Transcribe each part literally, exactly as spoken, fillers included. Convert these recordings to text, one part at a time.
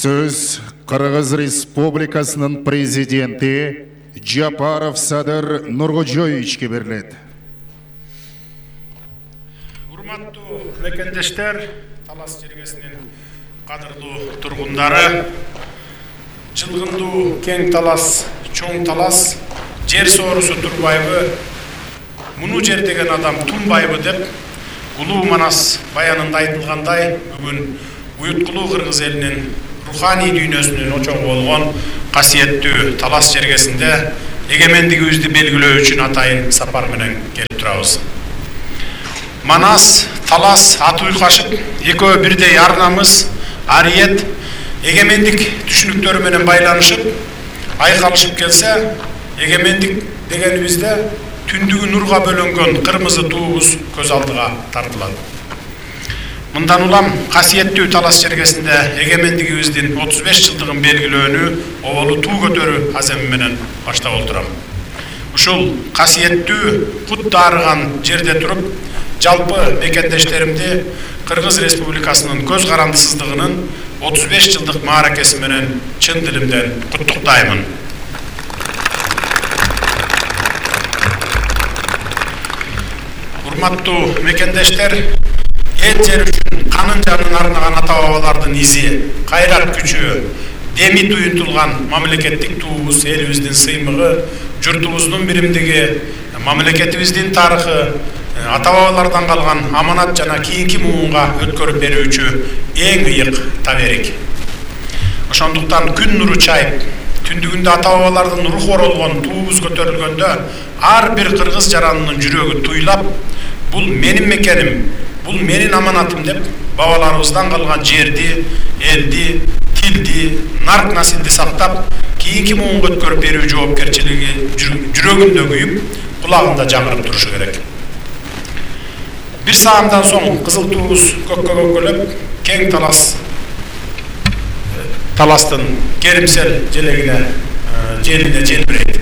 Сөз Кыргыз Республикасынын президенти Жапаров Садыр Нуркожоевичке берилет. Урматтуу мекендештер, Талас жергесинин кадырлуу тургундары, жылгындуу кең талас, чоң талас, жер соорусу турбайбы, муну жер деген адам тунбайбы деп, улуу Манас баянында айтылгандай, бүгүн уюткулуу кыргыз элинин руханий дүйнөсүнүн очогу болгон касиеттүү Талас жергесинде эгемендигибизди белгилөө үчүн атайын сапар менен келип турабыз. Манас, Талас аты уйкашып, экөө бирдей ар намыс, ариет, эгемендик түшүнүктөрү менен байланышып, айкалышып келсе, эгемендик дегенибизде түндүгү нурга бөлөнгөн кырмызы туубуз көз алдыга тартылат. Мындан улам касиеттүү Талас жергесинде эгемендигибиздин отуз беш жылдыгын белгилөөнү оболу туу көтөрүү аземи менен баштап отурам. Ушул касиеттүү кут дарыган жерде туруп, жалпы мекендештеримди Кыргыз Республикасынын көз карандысыздыгынын отуз беш жылдык мааракеси менен чын дилимден куттуктаймын. Урматтуу мекендештер, эл жер үчүн канын жанын арнаган ата бабалардын изи, кайрат күчү, деми туюнтулган мамлекеттик туубуз элибиздин сыймыгы, журтубуздун биримдиги, мамлекетибиздин тарыхы, ата бабалардан калган аманат жана кийинки муунга өткөрүп берүүчү эң ыйык таберик. Ошондуктан күн нуру чайып, түндүгүндө ата бабалардын руху оролгон туубуз көтөрүлгөндө ар бир кыргыз жаранынын жүрөгү туйлап, бул менин мекеним, бул менин аманатым деп бабаларыбыздан калган жерди, элди, тилди, нарк насилди сактап, кийинки муунга өткөрүп берүү жоопкерчилиги жүрөгүндө күйүп, кулагында жаңырып турушу керек. Бир саамдан соң кызыл туубуз көккө көккөлөп, кең Талас Таластын керимсел желегине, желине желбирейт.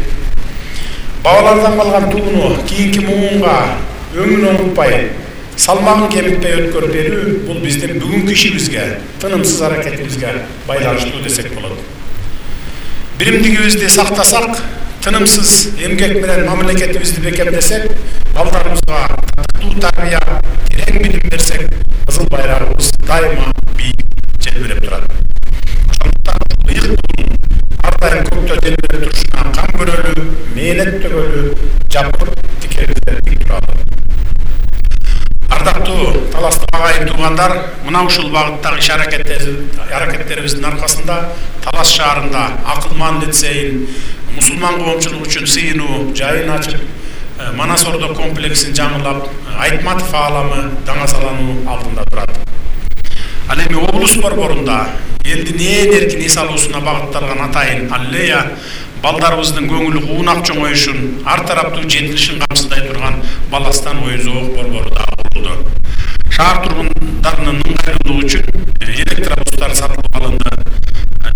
Бабалардан калган тууну кийинки муунга өңүн оңутпай, салмагын кемитпей өткөрүп берүү бул биздин бүгүнкү ишибизге, тынымсыз аракетибизге байланыштуу десек болот. Биримдигибизди сактасак, тынымсыз эмгек менен мамлекетибизди бекемдесек, балдарыбызга татыктуу тарбия, терең билим берсек, кызыл байрагыбыз дайыма бийик желбиреп турат. Ошондуктан ыйык туудун ар дайым көктө желбиреп турушуна кам көрөлү, мээнет төгөлү, жапыр тикебизде тик туралы. Ардактуу Таластык агайын туугандар, мына ушул багыттагы иш аракеттерибиздин аркасында Талас шаарында Акылман лицейин, мусулман коомчулугу үчүн сыйынуу жайын ачып, Манас Ордо комплексин жаңылап, Айтматов ааламы даңасалануу алдында турат. Ал эми облус борборунда элдин ээн эркин эс алуусуна багытталган атайын аллея балдарыбыздын көңүлү куунак чоңоюшун, ар тараптуу жетилишин камсыздай турган Баластан ой зоок борбору да курулду. Шаар тургундарынын ыңгайлуулугу үчүн электробустар сатылып алынды.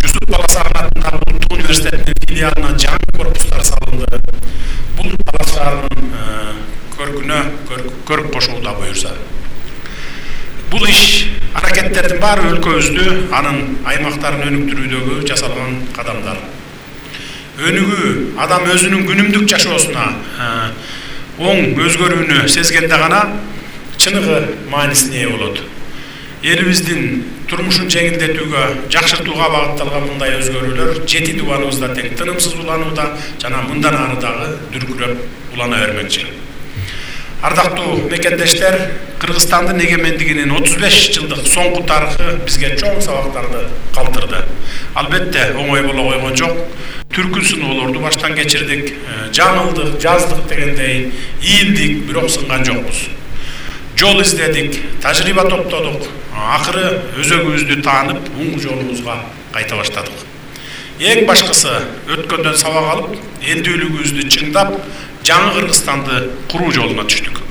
Жусуп Баласагын атындагы Улуттук университетинин филиалына жаңы корпустар салынды. Бул Талас шаарынын көркүнө көрүп кошууда буюрса. Бул иш аракеттердин баары өлкөбүздү, анын аймактарын өнүктүрүүдөгү жасалган кадамдар. Өнүгүү адам өзүнүн күнүмдүк жашоосуна оң өзгөрүүнү сезгенде гана чыныгы маанисине ээ болот. Элибиздин турмушун жеңилдетүүгө, жакшыртууга багытталган мындай өзгөрүүлөр жети дубаныбызда тең тынымсыз уланууда жана мындан ары дагы дүркүрөп улана бермекчи. Ардактуу мекендештер, Кыргызстандын эгемендигинин отуз беш жылдык соңку тарыхы бизге чоң сабактарды калтырды. Албетте оңой боло койгон жок. Түркүн сыноолорду баштан кечирдик, жаңылдык, жаздык дегендей, ийилдик, бирок сынган жокпуз. Жол издедик, тажрыйба топтодук, акыры өзөгүбүздү таанып, оң жолубузга кайта баштадык. Эң башкысы өткөндөн сабак алып, элдүүлүгүбүздү чыңдап, жаңы Кыргызстанды куруу жолуна түштүк.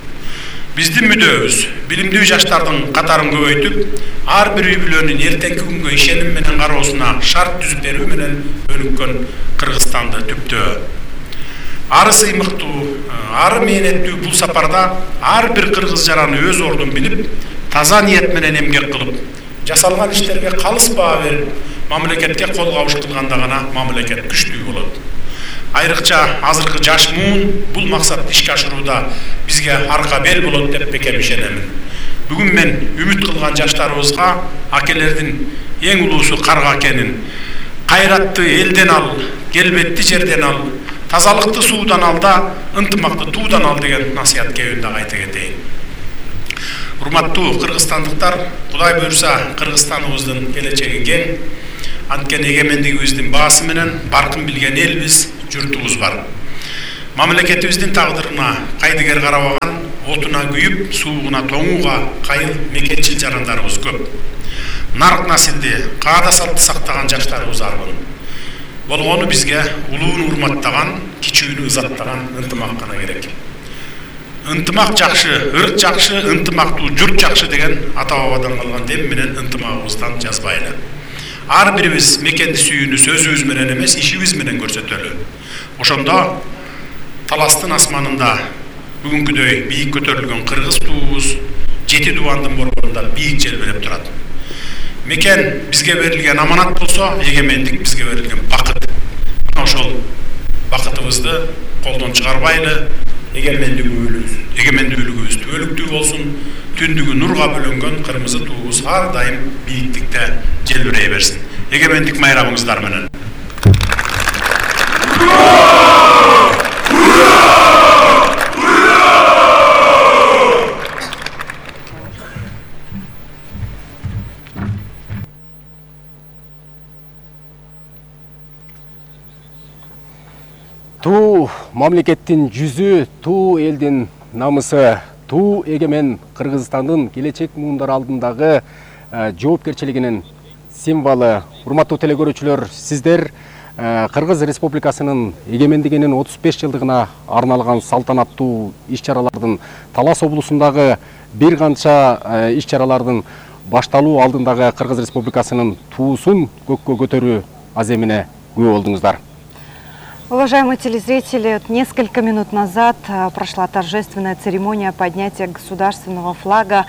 Биздин мүдөөбүз билимдүү жаштардын катарын көбөйтүп, ар бир үй бүлөнүн эртеңки күнгө ишеним менен кароосуна шарт түзүп берүү менен өнүккөн Кыргызстанды түптөө. Ары сыймыктуу, ары мээнеттүү бул сапарда ар бир кыргыз жараны өз ордун билип, таза ниет менен эмгек кылып, жасалган иштерге калыс баа берип, мамлекетке кол кабыш кылганда гана мамлекет күчтүү болот. Айрыкча азыркы жаш муун бул максатты ишке ашырууда бизге арка бел болот деп бекем ишенемин. Бүгүн мен үмүт кылган жаштарыбызга акелердин эң улуусу карга экенин, кайратты элден ал, келбетти жерден ал, тазалыкты суудан ал да ынтымакты туудан ал деген насыят кебин дагы айта кетейин. Урматтуу кыргызстандыктар, Кудай буйрса Кыргызстаныбыздын келечеги кең. Анткени эгемендигибиздин баасы менен баркын билген элбиз, журтубуз бар. Мамлекетибиздин тагдырына кайдыгер карабаган, отуна күйүп, суугуна тоңууга кайыл мекенчил жарандарыбыз көп. Нарк насилди, каада салтты сактаган жаштарыбыз арбын. Болгону бизге улууну урматтаган, кичүүнү ызаттаган ынтымак гана керек. Ынтымак жакшы, ырк жакшы, ынтымактуу журт жакшы деген ата-бабадан калган дем менен ынтымагыбыздан жазбайлы. Ар бирибиз мекенди сүйүүнү сөзүбүз менен эмес, ишибиз менен көрсөтөлү. Ошондо таластын асманында бүгүнкүдөй бийик көтөрүлгөн кыргыз туубуз жети дубандын борборунда бийик желбиреп турат. Мекен бизге берилген аманат болсо, эгемендик бизге берилген бакыт. Ошол бакытыбызды колдон чыгарбайлы, эгемендүүлүгүбүз түбөлүктүү болсун, түндүгү нурга бөлөнгөн кырмызы туубуз ар дайым бийиктикте желбирей берсин. Эгемендик майрамыңыздар менен. Туу мамлекеттин жүзү, туу элдин намысы, туу эгемен Кыргызстандын келечек муундары алдындагы жоопкерчилигинин символу. Урматтуу телекөрүүчүлөр, сиздер Кыргыз Республикасынын эгемендигинин отуз беш жылдыгына арналган салтанаттуу иш-чаралардын Талас облусундагы бир канча иш-чаралардын башталуу алдындагы Кыргыз Республикасынын туусун көккө көтөрүү аземине күбө болдуңуздар. Уважаемые телезрители, несколько минут назад прошла торжественная церемония поднятия государственного флага,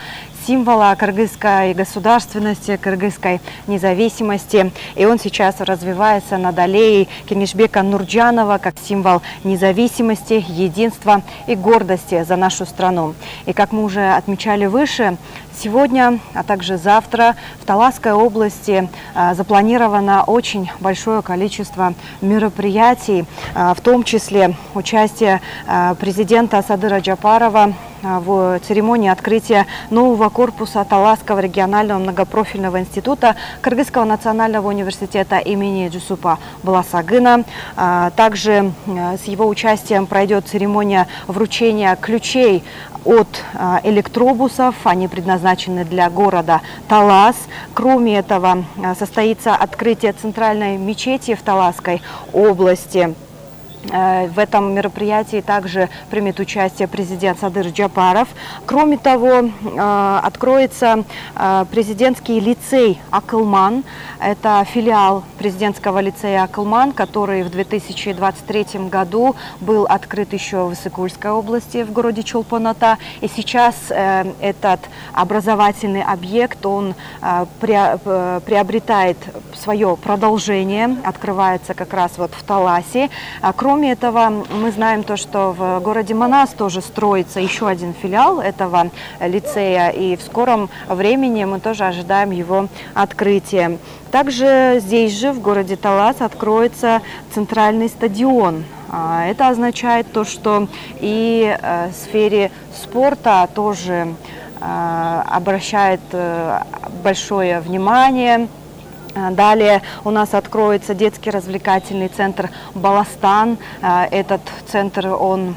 символа кыргызской государственности, кыргызской независимости. И он сейчас развивается над аллеей Кенишбека Нурджанова как символ независимости, единства и гордости за нашу страну. И как мы уже отмечали выше, сегодня, а также завтра в Таласской области а, запланировано очень большое количество мероприятий, а, в том числе участие а, президента Садыра Джапарова а, в церемонии открытия нового корпуса Таласского регионального многопрофильного института Кыргызского национального университета имени Джусупа Баласагына. А, также а, с его участием пройдет церемония вручения ключей от а, электробусов. Они предназначены для города Талас. Кроме этого, а, состоится открытие центральной мечети в Таласской области. В этом мероприятии также примет участие президент Садыр Джапаров. Кроме того, откроется президентский лицей «Акылман». Это филиал президентского лицея «Акылман», который в две тысячи двадцать третьем году был открыт еще в Исыкульской области, в городе Чолпон-Ата. И сейчас этот образовательный объект, он приобретает свое продолжение, открывается как раз вот в Таласе. Кроме этого, мы знаем то, что в городе Манас тоже строится еще один филиал этого лицея, и в скором времени мы тоже ожидаем его открытия. Также здесь же, в городе Талас, откроется центральный стадион. Это означает то, что и в сфере спорта тоже обращает большое внимание. Далее у нас откроется детский развлекательный центр «Баластан». Этот центр, он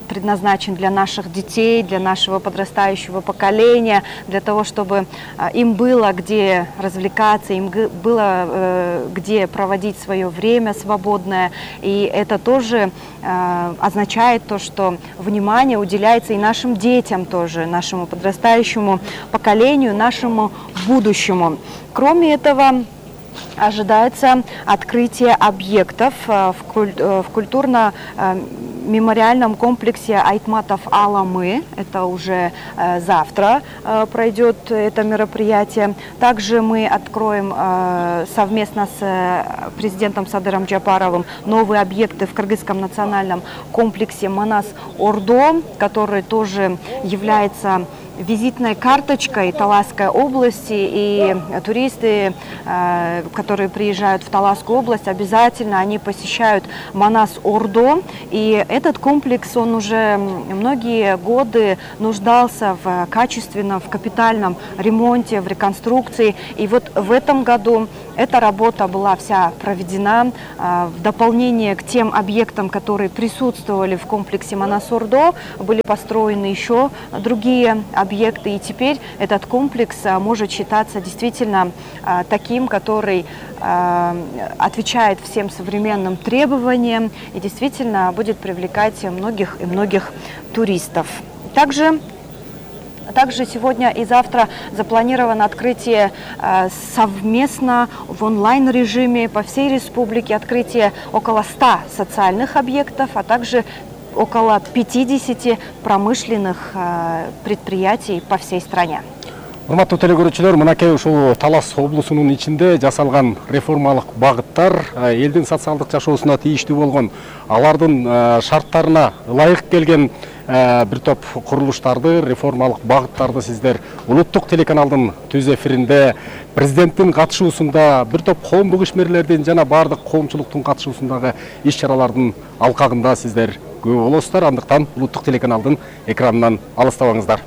предназначен для наших детей, для нашего подрастающего поколения, для того, чтобы им было где развлекаться, им было где проводить свое время свободное. И это тоже означает то, что внимание уделяется и нашим детям тоже, нашему подрастающему поколению, нашему будущему. Кроме этого, ожидается открытие объектов в культурно-мемориальном комплексе Айтматов Аламы. Это уже завтра пройдет это мероприятие. Также мы откроем совместно с президентом Садыром Джапаровым новые объекты в Кыргызском национальном комплексе Манас-Ордо, который тоже является визитной карточкой Таласской области, и туристы, которые приезжают в Таласскую область, обязательно они посещают Манас-Ордо. И этот комплекс, он уже многие годы нуждался в качественном, в капитальном ремонте, в реконструкции. И вот в этом году эта работа была вся проведена в дополнение к тем объектам, которые присутствовали в комплексе Манас-Ордо. Были построены еще другие объекты, и теперь этот комплекс может считаться действительно таким, который отвечает всем современным требованиям и действительно будет привлекать многих и многих туристов. Также Также сегодня и завтра запланировано открытие э, совместно в онлайн-режиме по всей республике, открытие около ста социальных объектов, а также около пятидесяти промышленных э, предприятий по всей стране. Урматтуу телекөрүүчүлөр, мынакей ушул Талас облусунун ичинде жасалган реформалык багыттар элдин социалдык жашоосуна тийиштүү болгон, алардын шарттарына ылайык келген бир топ курулуштарды, реформалык багыттарды сиздер улуттук телеканалдын түз эфиринде президенттин катышуусунда, бир топ коомдук ишмерлердин жана бардык коомчулуктун катышуусундагы иш-чаралардын алкагында сиздер көрүү болосуздар. Андыктан улуттук телеканалдын экранынан алыстабаңыздар.